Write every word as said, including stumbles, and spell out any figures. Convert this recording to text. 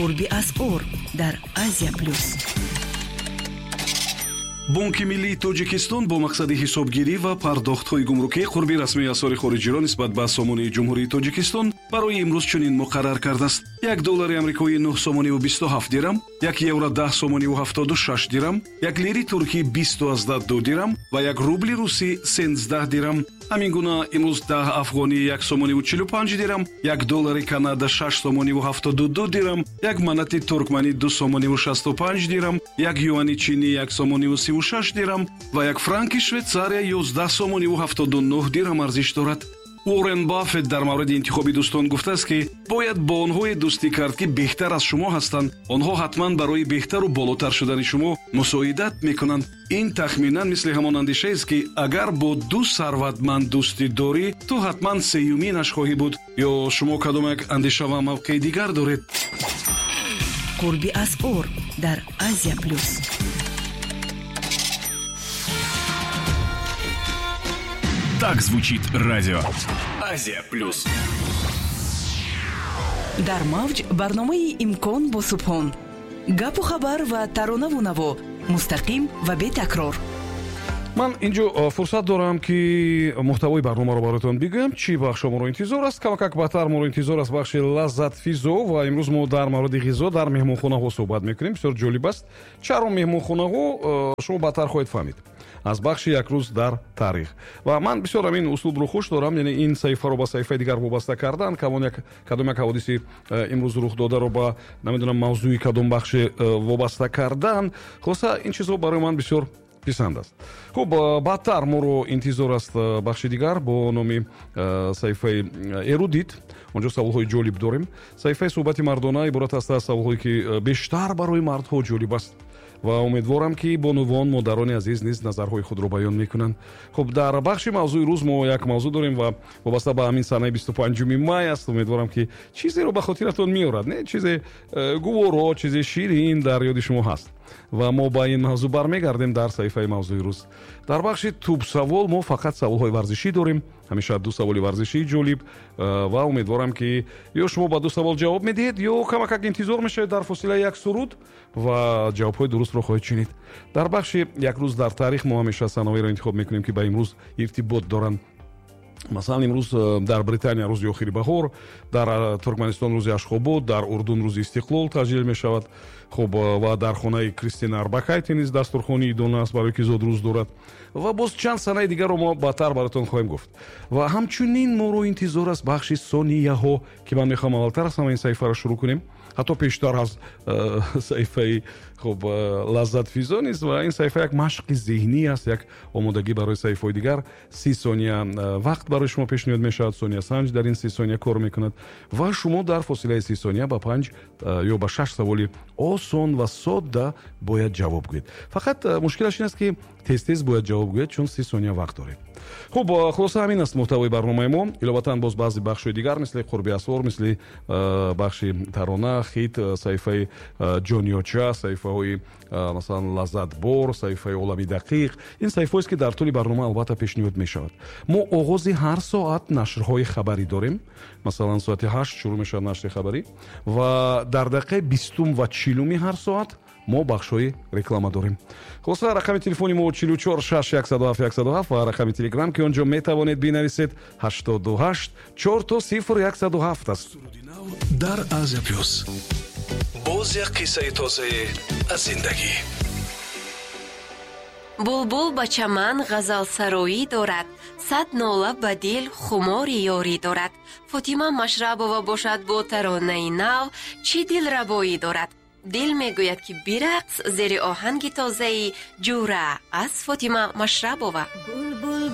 Қурби асъор дар Азия Плюс. Бонки миллии Тоҷикистон бо мақсади ҳисобгирӣ ва пардохтҳои гумрукӣ қурби расмии асъори хориҷиро нисбат ба сомонии Ҷумҳурии Тоҷикистон барои имрӯз чунин муқаррар кардааст: як доллари амрикоӣ нӯҳ сомониву бисту ҳафт дирам, як евро даҳ сомониву ҳафтоду шаш дирам, як лири туркӣ бисту аздаҳ ду дирам ва як рубли русӣ сенздаҳ дирам. Ҳамин гуна имрӯз даҳ афғонӣ як сомониву чилу панҷ дирам, як доллари Канада шаш сомониву ҳафтоду ду дирам, як манати туркманӣ ду сомониву шасту панҷ дирам, як юани чинӣ як сомониву сиву шаш дирам ва як франки Швейтсария ёздаҳ сомониву ҳафтоду нӯҳ дирам арзиш дорад. Уоррен Баффет дар мавриди интихоби дӯстон гуфтааст, ки бояд бо онҳое дӯстӣ кард, ки беҳтар аз шумо ҳастанд. Онҳо ҳатман барои беҳтару болотар шудани шумо мусоидат мекунанд. Ин тахминан мисли ҳамон андешаест, ки агар бо ду сарватманд дӯстӣ дорӣ, ту ҳатман сеюминаш хоҳӣ буд. Ё шумо кадом як андеша ва мавқеи дигар доред? Қурби асъор дар Азия Плюс. Так звучит радио Азия Плюс. Дар мавҷ барномаи «Имкон бо Субҳон». Гапу хабар ва таронаву наво мустақим ва бетакрор. Ман инҷо фурсат дорам, ки муҳтавои барномаро бароятон бигӯям. Чӣ бахшо моро интизор аст? Камакак баъдтар моро интизор аст бахши лаззатфизо ва имрӯз мо дар мавриди ғизо дар меҳмонхонаҳо суҳбат мекунем. Бисёр ҷолиб аст. Чаро меҳмонхонаҳо, шумо баъдтар хоҳед фаҳмид аз бахши «Як рӯз дар таърих». Ва ман бисёр ҳамин услубро хуш дорам, яъне ин саҳифаро ба саҳифаи дигар вобаста кардан, кадом як кадом як ҳодиси имрӯз рух додаро ба, намедонам, мавзӯи кадом бахши вобаста кардан. Хулоса, ин чизҳо барои ман бисёр писанд аст. Хуб, баъдтар моро интизор аст бахши дигар бо номи саҳифаи «Эрудит». Онҷо саволҳои ҷолиб дорем. Саҳифаи «Суҳбати мардона» иборат аст аз саволҳое, ки бештар барои мардҳо ҷолиб аст ва умедворам, ки бонувон, модарони азиз низ назарҳои худро баён мекунанд. Хуб, дар бахши «Мавзӯи рӯз» мо як мавзӯъ дорем ва вобаста ба ҳамин санаи бисту панҷуми май аст. Умедворам, ки чизеро ба хотиратон меорад, не чизе гуворо, чизе ширин дар ёди шумо ҳаст ва мо ба ин мавзӯъ бармегардем дар саҳифаи «Мавзӯи рӯз». Дар бахши «Тӯбсавол» мо фақат саволҳои варзишӣ дорем. Ҳамеша ду саволи варзишии ҷолиб ва умедворам, ки ё шумо ба ду савол ҷавоб медиҳед, ё камакак интизор мешавед дар фосилаи як суруд ва ҷавобҳои дурустро хоҳед шунид. Дар бахши «Як рӯз дар таърих» мо ҳамеша санаҳоеро интихоб мекунем, ки ба имрӯз иртибот доранд. Масалан, имрӯз дар Британия рӯзи охири баҳор, дар Туркманистон рӯзи Ашхобод, дар Урдун рӯзи Истиқлол таҷлил мешавад. Хуб, ва дар хонаи Кристина Арбакайте низ дастурхони идона аст, барои ки зодрӯз дорад. Ва боз чанд санаи дигарро мо баъдтар бароятон хоҳем гуфт. Ва ҳамчунин моро интизор аст бахши сонияҳо, ки ман мехоҳам аввалтар аз ҳама ин саҳифаро шурӯъ кунем, ҳатто пештар аз саҳифаи, хуб, лаззатфизо низ. Ва ин саҳифа як машқи зеҳнӣ аст, як омодагӣ барои саҳифаҳои дигар. Си сония вақт барои шумо пешниҳод мешавад. Сониясанҷ дар ин си сония кор мекунад ва шумо дар фосилаи си сония ба панҷ ё ба шаш саволи осон ва содда бояд ҷавоб гӯед. Фақат мушкилаш ин аст, ки тез-тез бояд ҷавоб гӯед, чун си сония вақт доред. Хуб, хулоса, ҳамин аст муҳтавои барномаи мо. Иловатан боз баъзе бахшҳои дигар, мисли қурби асвор, мисли бахши тарона, хит, саҳифаи ҷониёча, саҳифаҳои, масалан, лаззатбор, саҳифаи олами дақиқ. Ин саҳифаҳоест, ки дар тӯли барнома албатта пешниҳод мешавад. Мо оғози ҳар соат нашрҳои хабарӣ дорем. Масалан, соати ҳашт шурӯъ мешавад нашри хабарӣ ва дар дақиқаи бистум ва чилуми ҳар соат мо бахшҳои реклама дорем. Хулоса, рақами телефони мо чилу чор шаш яксаду ҳафт яксаду ҳафт ва рақами телеграм, ки он ҷо метавонед бинависед, ҳаштоду ҳашт чор то сифр яксаду ҳафт аст. Дар Азия Плюс боз як қиссаи тозае аз зиндагӣ. Булбул ба чаман ғазалсароӣ дорад, сад нола ба дил хумори ёрӣ дорад. Фотима Машрабова бошад бо таронаи нав чӣ дилрабоӣ дорад. Дил мегӯяд, ки бирақс зери оҳанги тозаи «Ҷура» аз Фотима Машрабова.